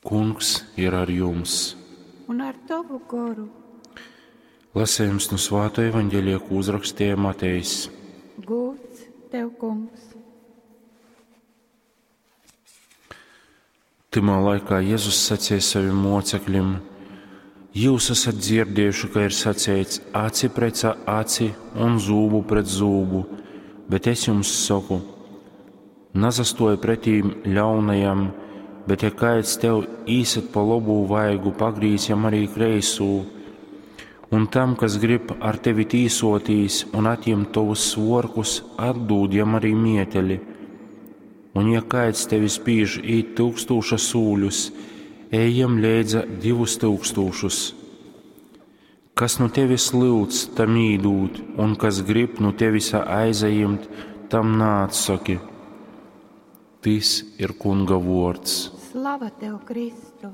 Kungs ir ar jums! Un ar tovu goru. Lasējums no Svāto evaņģēlija, ko uzrakstīja Matejs. Gūts tev, kungs! Tymā laikā Jēzus sacīja saviem mocekļiem: Jūs esat dzirdējuši, ka ir saceits aci pret aci un zūbu pret zūbu, bet es jums saku, nasastoja pretīm ļaunajam, bet ja kāds tev īsit pa labū vaigu, pagrīz jam arī kreisū. Un tam, kas grib ar tevi tīsotīs un atņemt tavus svorkus, atdūd jam arī mieteli. Un ja kāds tevi spīž īt tūkstūša sūļus, ej jam leidza 2000. Kas nu tevis lyudz, tam īdūt, un kas grib nu tevis aizajimt, tam naatsaki. Tys ir Kunga vuords. Slava tev, Kristu!